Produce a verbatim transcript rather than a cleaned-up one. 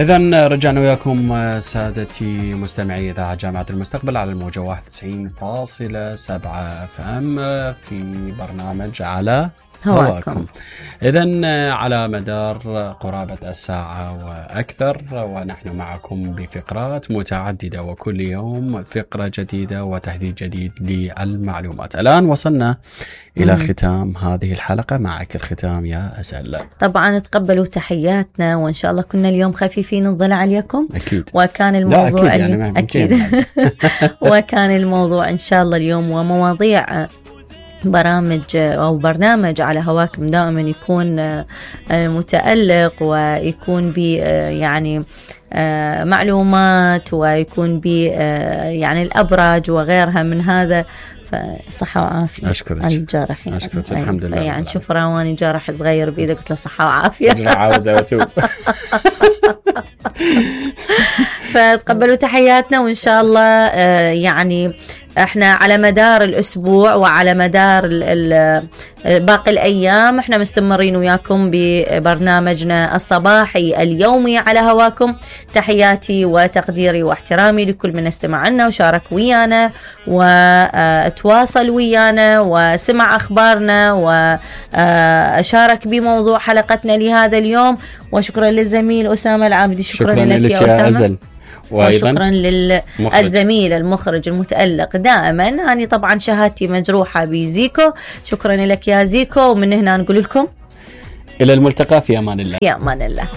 إذن رجعنا وياكم سادتي مستمعي إذاعة جامعة المستقبل على الموجة واحد وتسعين فاصلة سبعة اف ام في برنامج على هواكم. إذن على مدار قرابة الساعة وأكثر ونحن معكم بفقرات متعددة، وكل يوم فقرة جديدة وتحديث جديد للمعلومات. الآن وصلنا إلى ختام هذه الحلقة. معك الختام يا أسأل. طبعا تقبلوا تحياتنا، وإن شاء الله كنا اليوم خفيفين الضلع عليكم. أكيد. وكان الموضوع أكيد, يعني أكيد. وكان الموضوع إن شاء الله اليوم ومواضيع برامج أو برنامج على هواكم دائما يكون متألق ويكون ب يعني معلومات ويكون ب يعني الأبراج وغيرها من هذا. فصحة وعافية. أشكرك. الجارحين. أشكرك الحمد لله. يعني شوف رواني جارح صغير بإيده قلت له صحة وعافية. أجرع عاوزة وتوب. فتقبلوا تحياتنا، وإن شاء الله يعني احنا على مدار الأسبوع وعلى مدار باقي الأيام احنا مستمرين وياكم ببرنامجنا الصباحي اليومي على هواكم. تحياتي وتقديري واحترامي لكل من استمع لنا وشارك ويانا وتواصل ويانا وسمع أخبارنا وشارك بموضوع حلقتنا لهذا اليوم. وشكرا للزميل أسامة العابدي. شكرا, شكرا لك يا أسامة. أزل. وشكرا للزميل المخرج المتألق دائما. أنا طبعا شهادتي مجروحة بزيكو. شكرا لك يا زيكو، ومن هنا نقول لكم إلى الملتقى في أمان الله. في أمان الله.